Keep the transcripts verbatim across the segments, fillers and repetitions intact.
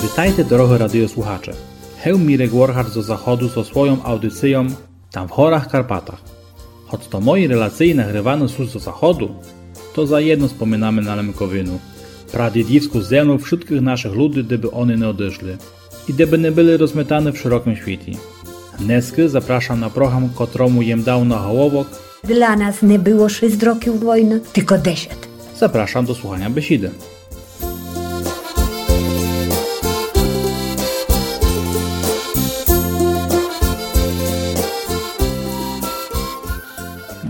Витайте, дорогы радиослухаче. Гев Мірек Воргач зо заходу зо свойом аудицийом Там в горах Карпатах. Гоц то мої релациї нагрываны сут зо заходу, то заєдно споминаме на Лемковину, прадідівску землю вшыткых нашых люди, де бы они не одышли и де бы не были розметаны в широкым світі. Днеска запрашам на програм, котрому єм дав наголовок: Для нас не было шіст років войны, тілько десят. Запрашам до слуханя бесіды.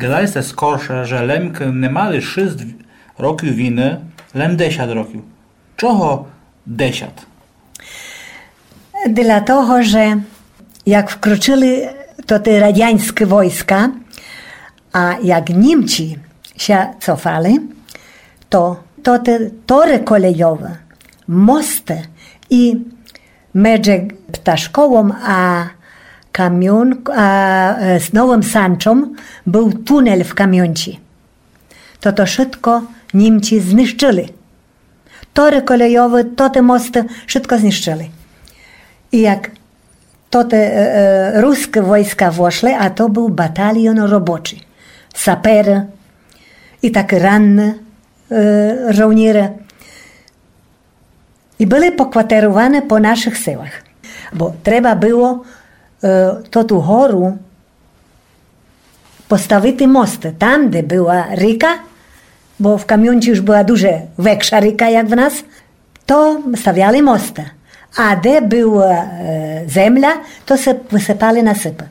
Гадали сте скорше, же Лемкы не мали шіст років войны, лем десят років. Чого десят? Для того, же як вкрочыли тоты радяньскы войска, а як Німці ся цофали, то тоты торы колейовы, мосты и медже Пташковом а Камён-, а, е, з Новым Санчом был тунель в Камёнці. То, то шытко Німці знищыли. Торы колейовы, тоты мосты, шытко знищыли. И як тоты, е, е, рускы войска вошли, а то был батальон робочий, саперы и такы ранны, е, жовніры. И были покватеруваны по нашых селах. Бо треба было, е, тоту гору поставити мосты. Там, де была ріка, бо в Камёнці уж была дуже векша ріка, як в нас, то ставяли мосты. А де была, е, земля, то се высыпали насыпы.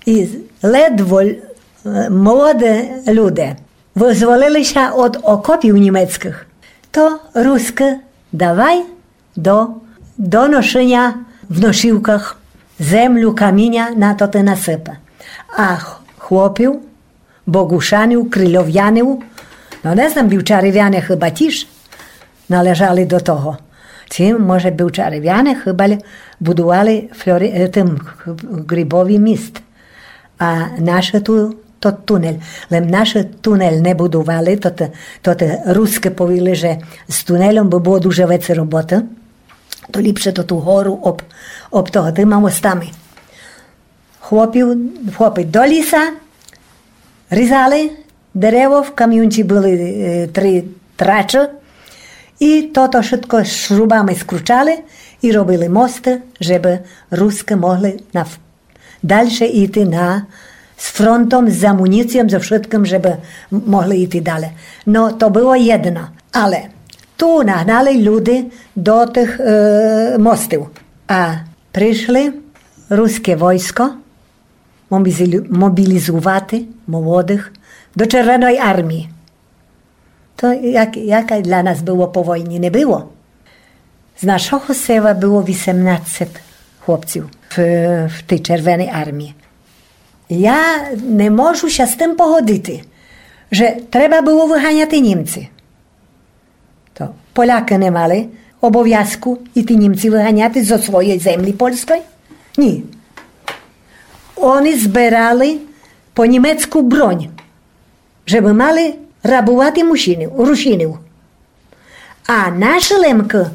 И ледво, е, молоды люде вызволили ся од окопів німецкых, то рускы давай до, до ношыня в ношівках землю, каміня на тоты насыпы. А х-, хлопів, богушанів, крильовянів, но, не знам, білчаревяне хыба тіж належали до того. Ци, може, білчаревяне хыба л-, будували фльори-, е, тым г-, грибовый міст. А нашы ту, тот тунель. Лем нашы тунель не будували, то те, то те рускы повіли, же з тунельом бы было дуже веце роботы. То ліпше то ту гору об, об того тыма мостами. Хлопів, хлопы до ліса різали дерево, в Камёнці были, е, три трачы, и тото шытко шрубами скручали и робили мосты, жебы рускы могли нав-, дальше іти на, з фронтом, з амуніцийом, зо шыткым, жебы м-, могли іти дале. Но, то было єдно. Але ту нагнали люде до тых, е, мостів. А пришли руске войско мобізилю-, мобілізувати молодых до Червеной армії. То як, як для нас было по войні, не было. З нашого села было вісемнадцет хлопців в, в тій Червеній армії. Я не можу ся з тым погодити, же треба было выганяти німці. То Полякы не мали обовязку іти німці выганяти зо своєй землі польской? Ні. Они зберали по німецку бронь, жебы мали рабувати мужчинів, русинів. А нашы Лемкы